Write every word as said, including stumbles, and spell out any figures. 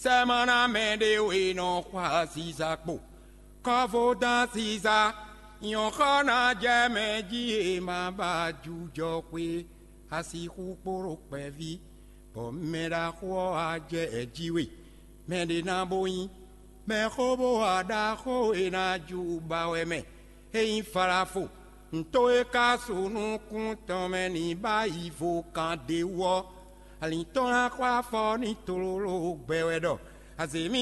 Sɛ́ má ná mɛ ɖé e nɔ xwa ziza kpo, kɔ́vo dán ziza, nyɔ̌xɔ ná jɛ mɛ jí e ma ba jujɔ xwe, a sixú kpo ɖo kpɛví, bɔ mɛ ɖaxó ɔ́ wá jɛ ɛ jí we. Mɛ ɖé ná bó nyí mɛxó bó wa ɖaxó e ná ju ba wɛ mɛ. É nyí Falafo, nto e ka su nukún tɔn mɛ ní ba yi vo kan ɖé wú ɔ́, alǐn tɔn ná xɔ afɔ ní tlóló gbɛ wɛ ɖɔ azě